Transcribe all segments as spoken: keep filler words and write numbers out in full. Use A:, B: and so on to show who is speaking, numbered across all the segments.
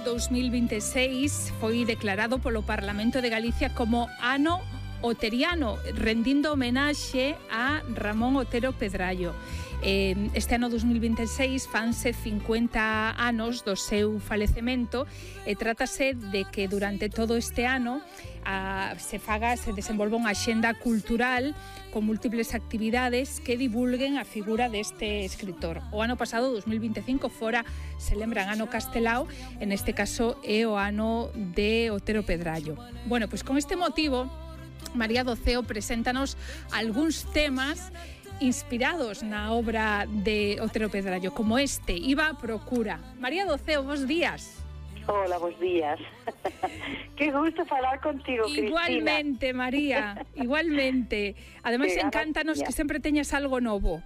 A: dous mil vinte e seis foi declarado polo Parlamento de Galicia como ano oteriano, rendindo homenaxe a Ramón Otero Pedrallo. Este ano dous mil vinte e seis fanse cincuenta anos do seu falecemento e trátase de que durante todo este ano a, se faga, se desenvolva unha axenda cultural con múltiples actividades que divulguen a figura deste escritor. O ano pasado, dous mil vinte e cinco, fora, se lembran, ano Castelao, en este caso é o ano de Otero Pedrallo. Bueno, pois con este motivo, María Doceo preséntanos algúns temas inspirados na obra de Otero Pedrallo, como este, Iba a Procura. María Doceo, bons días.
B: Hola, bons días. Que gusto falar contigo, Cristina.
A: Igualmente, María, igualmente. Ademais, encántanos que sempre teñas algo novo.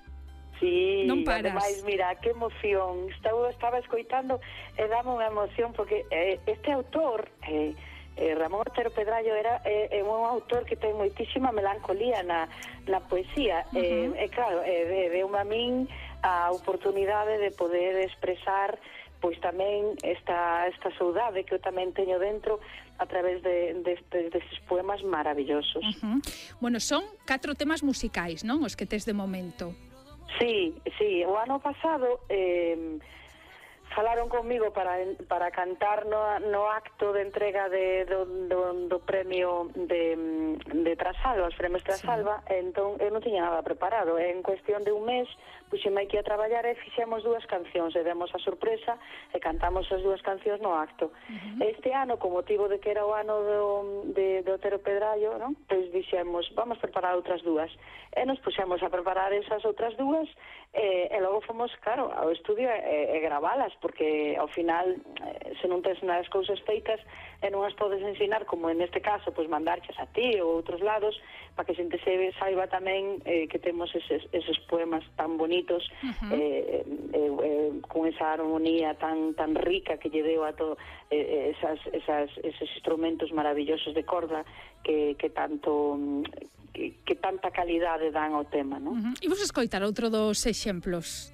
B: Sí,
A: non paras.
B: Ademais, mira, que emoción. Estaba, estaba escoitando e dame unha emoción porque eh, este autor... Eh, Eh, Ramón Otero Pedrallo era eh, eh, un autor que ten moitísima melancolía na, na poesía. Uh -huh. eh, e claro, eh, deu-me a min a oportunidade de poder expresar pois tamén esta, esta saudade que eu tamén teño dentro a través de, de, de, destes poemas maravillosos.
A: Uh -huh. Bueno, son catro temas musicais, non? Os que tes de momento.
B: Sí, sí, o ano pasado... Eh, falaron conmigo para para cantar no, no acto de entrega de, do, do, do premio de, de Trasalba, os premios Trasalba, sí. Entón eu non tiña nada preparado. En cuestión de un mes puxeme aquí a traballar e fixemos dúas cancións e demos a sorpresa e cantamos as dúas cancións no acto. Uh -huh. Este ano, con motivo de que era o ano do, de, de Otero Pedrallo, non? Pois dixemos, vamos preparar outras dúas. E nos puxemos a preparar esas outras dúas e, e logo fomos, claro, ao estudio e, e gravalas, porque ao final se non tens nas cousas feitas e non as podes ensinar, como en este caso, pois mandarchas a ti ou outros lados, para que a xente se saiba tamén eh, que temos eses, eses poemas tan bonitos, uh -huh. eh, eh, eh, con esa armonía tan tan rica que lle deu a todo, eh, esas, esas, esos instrumentos maravillosos de corda que, que tanto que, que tanta calidade dan ao tema, non?
A: Uh -huh. E vos escoitar outro dos exemplos